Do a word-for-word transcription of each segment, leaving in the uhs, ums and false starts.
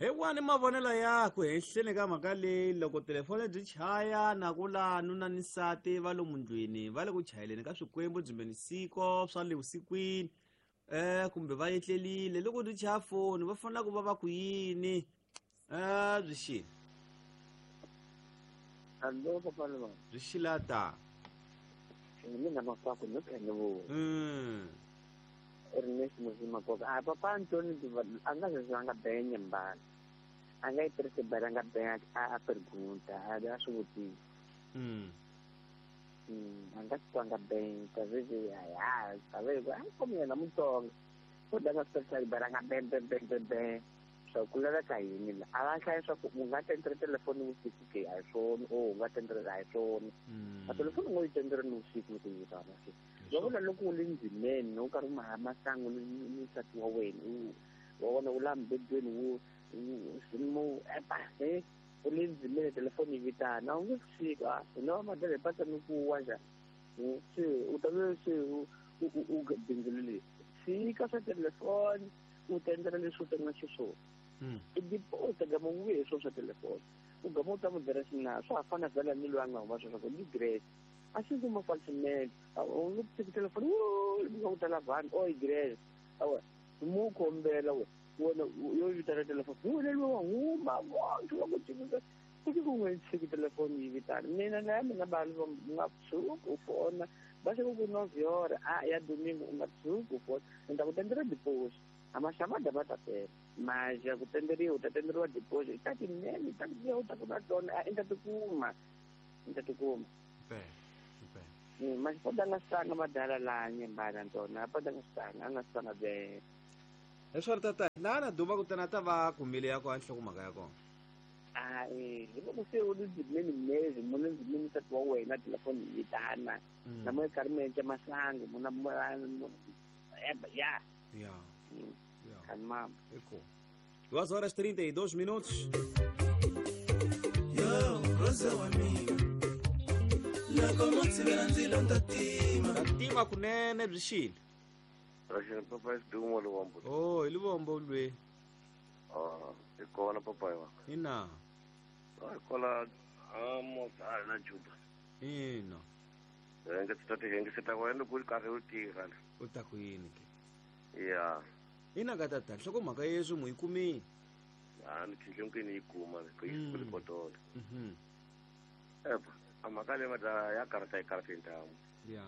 Hi wani mavonelo yakho henhleni ka mhaka leyi loko telefoni byi chaya na ku la nuna ni nsati va lomu ndlwini va le ku chayeleni ka swikwembu byimbeni siko swa le vusikwini eh kumbe va etlelile loko byi chaya foni va fanele ku va va ku yini eh byi xile Allo papa lo byi xilata mina makwako no kene vo mm Ernest Muzima koka a papa Antoni a nga se nga benya mbala a nga yi tirhisi bala nga benya a pergunta a a swi vutisa mm mm a nga swi nga benya ta veze ya ya ta veze a komi yena Mutsonga u da nga swi bala nga ben ben ben ben ben swa ku laveka yini la a va hlaya swa ku u nga tendere telefoni vusiku ke a hi swona o u nga tendere a hi swona a telefoni u ngo yi tendere ni vusiku loko yi vitana se va vula loko u le ndzimeni u karhi u maha masangu ni ni nsati wa wena u wa vona u la mbedweni wu mo epa e u le ndzimeni telefoni yi vitana a wu nge fika hina va madala hi patsa ni ku wa njhani se u ta ve se u u bindzulile tshika swa telefoni u tendela leswi u tendela xiswona i deposit gama u vuye hi swona swa telefoni u gama u ta mu byela xina swa ha fana vhela ni loyi a nga huma sweswo ku ni grace a xi ndzi mafalsimende u nge tshiki telefoni nga ku tala vanhu o i grace awa mu kombela we wena yo vitana telefoni wena loyi wa huma vonke va ku tshikisa ku ku n'wi tshiki telefoni yi vitana mina na ya mina vanhu va nga tshuki u fona va se ku ku nove a ya domingo u nga tshuki u fona ni ta ku tendela deposit a maxamada va ta tela mas ya ku tenderiwa u ta tenderiwa deposit ta tinene ta ku u ta ku na tona a i ta tikuma i ta tikuma mas pode nga sanga madala la nyembana ntona pode nga sanga a nga sanga be leswaku tata laha na duma ku tana ta va kumile ya kona nhlokomhaka ya kona a eh hi loko se u le ndzimeni mezi mu le ndzimeni nsati wa wena telefoni yi vitana na mo karhi mi endla masangu mu na ya ya Calma. Ecco. Duas horas e trinta e dois minutos. Tima kunene byi xile. Raxini papa Sidumo Luvombo. Oh, hi Luvombo lwe. Ah, hi kona papa wa. Ina. Ah, kola amo na Juba. Ina. Renge tata renge sita wena ku karhi u tirha. U ta ku yini ke? Ya. Ina ka tata nhlokomhaka yeswi mu yi kumile. A ni thinhle ni yi kuma ku yi ku potolo. Mhm. Epa, a mhaka leyi madala ya karata yi karata ntamu. Ya.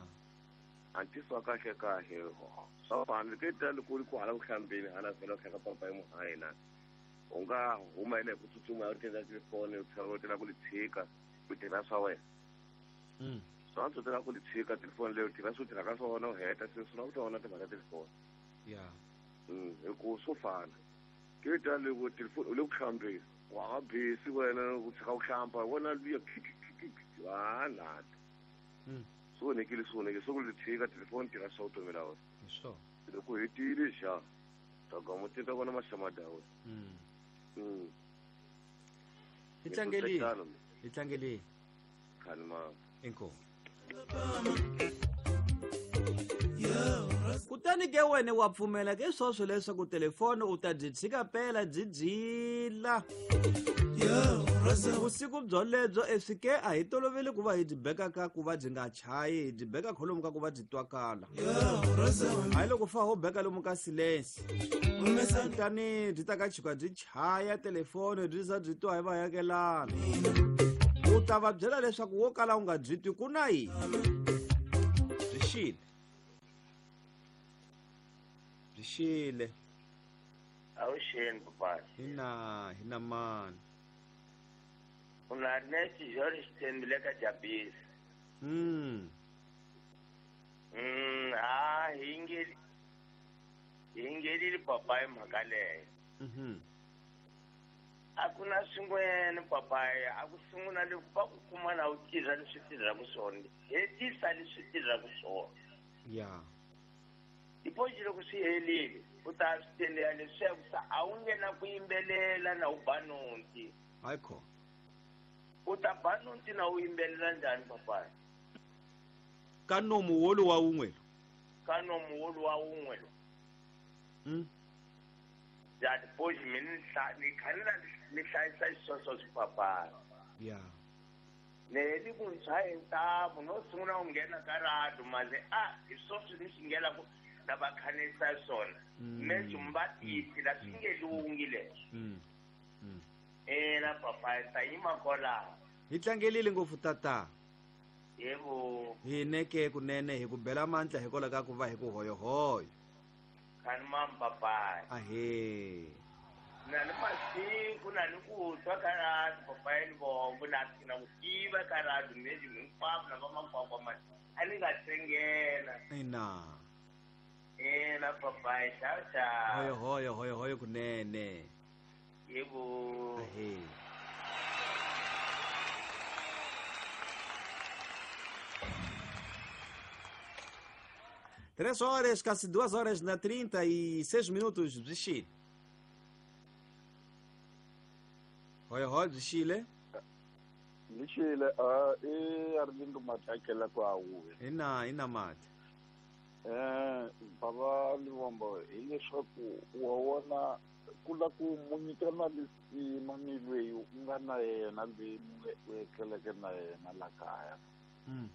Antiso kahle kahle. Swa fana ke ta loko ku hala ku hlambeni hala vhela ku ka papa yi muhayina. U nga huma ile ku tsutsuma u tenda telefoni u tlhela u tela ku li tshika u tirha swa wena. Mm. Swa antswa tela ku li tshika telefoni leyi u tirha swo tirha ka swona u heta se swi lava ku tona timhaka telefoni. Ya. Mm, hi ku swo fana. Ke ta loko telefoni u le ku hlambeni wa ha busy wena ku tshika ku hlamba wena luya a na. Mm. Swo onhekile swo onhekile swo ku li tshika telefoni tirha swa vutomi la wena. Sure. Loko hetile xa ta gama ti ta vona maxamada ya wena. Mm. Mm. Hi tlangeli. Hi tlangeli. Khalma. Inkomu. Kutani ke wena wa pfumela ke swoswo leswaku telefoni u ta byi tshika pela byi byila vusiku byolebyo eswike a hi toloveli ku va hi byi beka ka ku va byi nga chayi hi byi beka kholomu ka ku va byi twakala hayi loko fa ho beka lomu ka silence kutani byi ta ka chika byi chaya telefoni byi za byi twa hi vayakelana u ta va byela leswaku wo kala u nga byi twi ku na yini byi xile byi xile Awuxeni papa. Hina hina mani. Una Ernest George Tembile ka Jabisi. Mm. Mm, ah hingeli. Hingeli papa hi mhaka leyo. Mhm. A ku na swin'wana papa a ku sungula loko va ku kuma na u tirha leswi tirhaka swona. Hetisa leswi tirhaka swona. Ya. Deposit loko swi helile u ta swi tendela leswaku sa a wu nge na ku yimbelela na u ba nonti. Hayi kho. U ta ba nonti na u yimbelela njhani papa? Ka nomu wolu wa wun'we. Ka nomu wolu wa wun'we lo. Mm. Ya depois mi ni khanela ni hlayisa xisweswo swipapana. Ya. Ne li ku ntshaye ntamu no sungula ku nghena ka radio manje a hi swoswi ni swi ngela ku na va khanisa swona. Me swi tisi la swi nge lungi leswi. Mm. Mm. Ena papa ta yima kola. Hi tlangelile ngopfu tata. Yebo. Hi neke kunene hi ku bela mandla hikwalaho ka ku va hi ku hoyohoyo. Kani mam papa. Ahe. Na ni masiku na ni ku twa ka radio papa ni vongo na na ku tiva ka radio meji hinkwavo na vamakwakwa ma a ni nga tsengela. Ina. Ena papa ciao ciao. Hoyo hoyo hoyo hoyo kunene. Yebo. Ahe. Três horas, quase duas horas na trinta e seis minutos de Chile. Oi, oi, de Chile. De Chile, ah, e Arlindo Matakela kwa uwe. Ina, ina mate. Eh, baba Livombo, ile shoku waona kula ku munyikana lisima ni lweyi u nga na yena lweyi u etleleke na yena la kaya. Mm.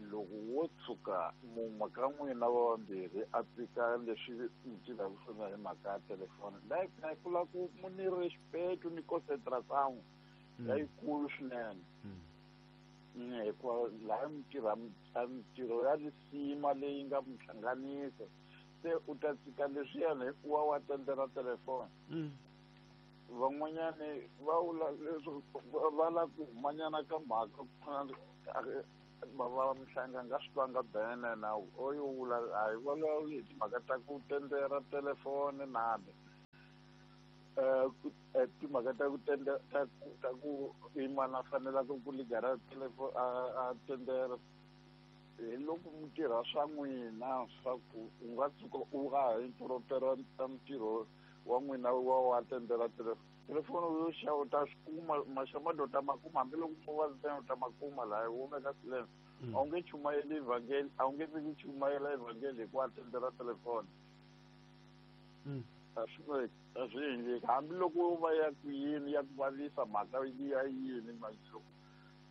Loko wo tshuka mun'we ka n'wina va vambirhi a tika leswi mi tivaka swona hi mhaka ya telefoni like na kula ku mu ni respect ni concentration leyikulu swinene hikuva laha mi tirha mintirho ya lisima leyi nga mi hlanganisa se u ta tshika leswiyani hikuva wa tendela telefoni. Van'wanyani va vula leswi va lava ku humanyana ka mhaka ku fana va Mhlanga nga swi twanga bene na oyo vula a hi vulavuli hi timhaka ta ku tendera telefoni nani eh timhaka ta ku tendera ta ta ku imana fanelaka ku ligara telefoni a tendera hi loko mi tirha swa n'wina swa ku u nga tshuka u nga ha interruptera ntirho wa n'wina wa wa tendera telefoni. Telefoni yo xava u ta swi kuma maxamado ta ma kuma hambiloko mo va ntsena u ta ma kuma laha wo veka silence. A wu nge chumayeli evhangeli, a wu nge fiki chumayela evhangeli hi ku atendera telefoni. A swi a swi endleki hambiloko yo va ya ku yini ya ku vavisa mhaka ya yini manje loko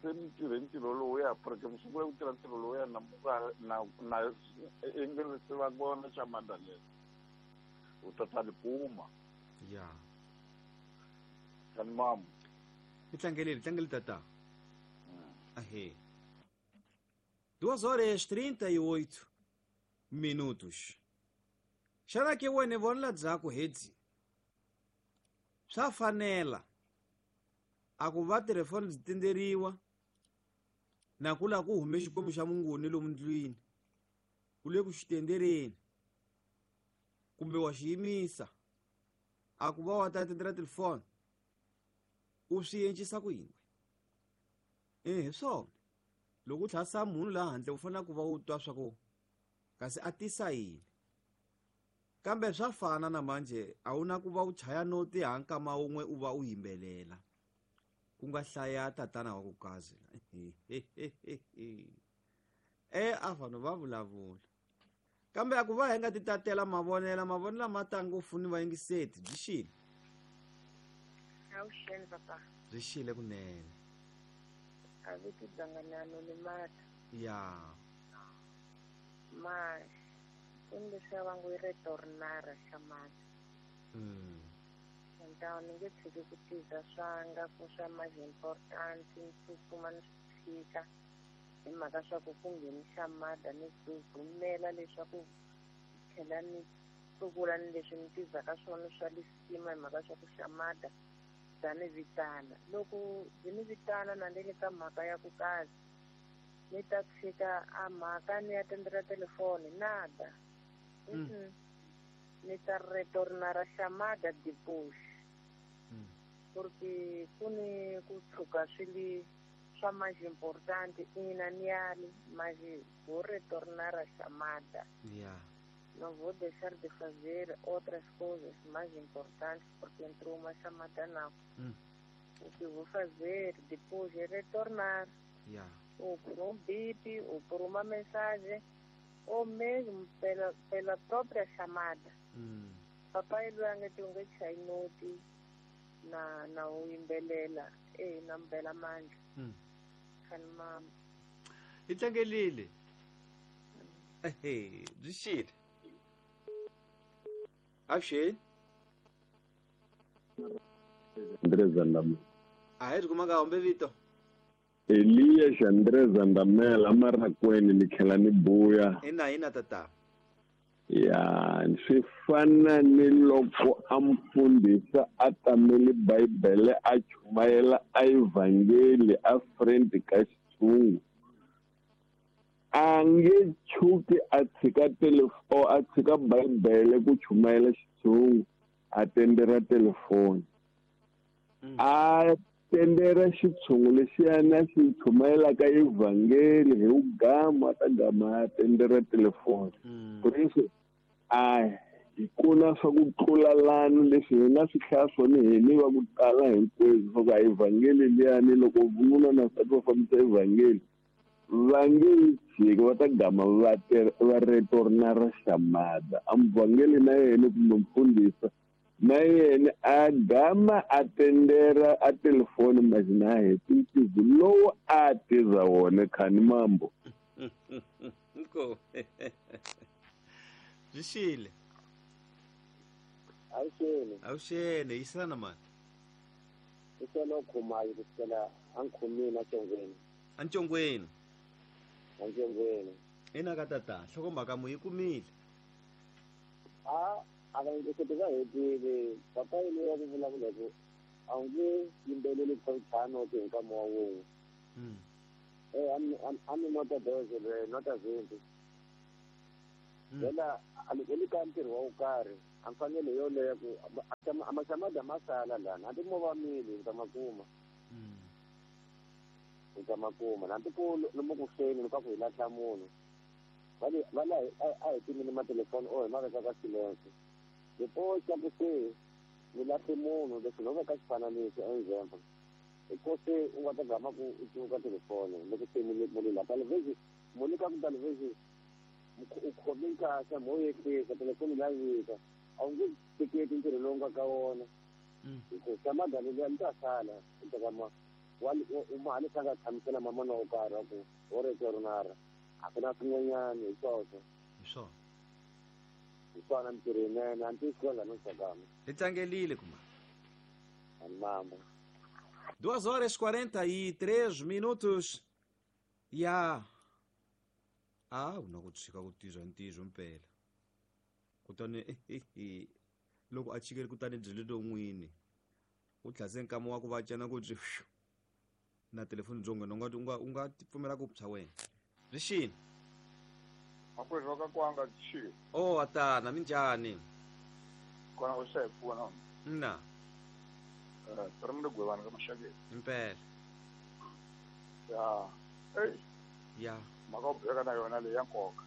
se mi tirhe ntirho lowuya porque mi sungule ku tirha ntirho lowuya na na na i se va vona xamanda lexi u ta ta li kuma. Ya. Kani mamu. Hi tlangelile, tlangele tata. Ahe. Duas horas trinta e oito minutos. Xana ke wena vona dzaku hedzi. Swa fanela a ku va telefoni byi tenderiwa na ku la ku hume xikwembu xa munguni lomu ndlwini u le ku xi tendereni kumbe wa xi yimisa a ku va wa ta tendera telefoni u swi encisa ku yini? Eh, hi swona loko u tlhasa munhu laha handle u fanele ku va u twa swa ku kasi a tisa yini kambe swa fana na manje a wu na ku va u chaya noti ha nkama wun'we u va u yimbelela ku nga hlaya tatana wa ku kazi e a vanhu va vulavula kambe a ku va hi nga ti tatela mavonela mavonela ma ta ngopfu ni vayingiseti byi xile. Awuxeni papa. Byi xile kunene. A viti dzanganano ni mata. Ya. Ma ku ni leswiya va ngo i retornara xa mata. Mm. Então ni nge tshiki ku tiza swanga ku swa mais important ni tsutsuma ni swi tshika hi mhaka swa ku ku nghenisa mada ni bumela leswaku tlhela ni tlukula ni leswi ni tizaka swona swa lisima hi mhaka swa ku xa mada bya ni vitana. Loko byi ni vitana na ni le ka mhaka ya ku kazi ni ta tshika a mhaka ni ya tendela telefoni nada. Mm. Ni ta retornara chamada depois. Mm. Porque ku ni ku tshuka swi li swa mais importante ina ni yali mas vou retornar a chamada. Yeah. Não vou deixar de fazer outras coisas mais importantes porque entrou uma chamada não. Mm. O que vou fazer depois é retornar. Yeah. Ou por um bip, ou por uma mensagem, ou mesmo pela, pela própria chamada. Mm. Papa yi loyi a nge ti u nge chayi noti na na u yimbelela e na mbela mandla. Mm. Khani mama. Hi tlangelile. Ehe, byi xile. Avuxeni. Andrés Andamela. A hi ri kumanga hombe vito. Elias Andrés Andamela Marakweni ni tlhela ni buya. Ina ina tata. Ya, swi fana ni loko a mfundhisi a tamele Bibele a chumayela a evhangeli a friend ka xitshungu. A nge tshuki a tshika telefoni a tshika Bibele ku chumayela xitshungu a tendera telefoni. A tendera xitshungu lexiyana xi chumayelaka evhangeli hi ugama ta gama a tendera telefoni. Prince a hi kuna swa ku tlulalana leswi hi nga swi hlaya swona hi ni va ku tala hinkwenu swa ku a evhangeli liyani loko vununa na nsati va fambisa evhangeli va nge yi tshiki va ta gama va va retorna ra xamada. A muvhangeli na yena kumbe mfundhisi na yena a gama a tendera a telefoni mazina a heti ntizo lowu a tiza wona khani mambo. Nko. Byi xile. Avuxeni. Avuxeni, yisana mani. Iselo khumayo kusukela ankhumini ancongweni. Ancongweni. Ancongweni. Ina ka tata, nhlokomhaka mu yi kumile. A a va ndzi va hetile papa yi loyi a ku vulavula ku a wu nge yimbeleli ku ntlhanu ti hi nkama wa wun'we. Eh a mi nota doze le nota zimbi. Vela a li ka ntirho wa wo karhi a mfanelo yoleyo ku a maxamada ma sala lana hambi mo va mili u ta ma kuma. U ta ma kuma hambi ku lomu ku feni loko ku hi lahla munhu va le va la a hi timile matelefoni or hi ma veka ka silence. Loko xa ku se mi lahle munhu leswi no veka xifananiso example hi ko se u nga ta gama ku u cuka telefoni loko se mi mu le la television mu le ka ku television u khome nkasa mo yehlisa telefoni la vika a wu nge teketi ntirho lowu nga ka wona hi ku xa madalo liya mi ta sala u teka ma u ma leswi a nga tshamisela mamana wo karhi wa ku wo retornara a ku na swin'wanyana hi swoswo. Hi swona. Hi swona mintirho yinene a ni tivi no xakama. Hi tlangelile kuma. Ani mambo. Duas horas quarenta e três minutos. Ya. Ah, u na ku tshika ku tizwa ntizo mpela. Kutani loko a chikele kutani byi le n'wini. U tlhase nkama wa ku va cena ku byi na telefoni byo nghena u nga u nga u nga pfumela ku phya wena. Byi xini? Makwerhu wa ka kwanga byi. Oh, atana minjhani? Kona u se pfuna. Na. Eh, ri ni gwevana ka maxakeni. Impela. Ya. Hey. Ya. Mhaka u beka na yona leyi ya nkoka.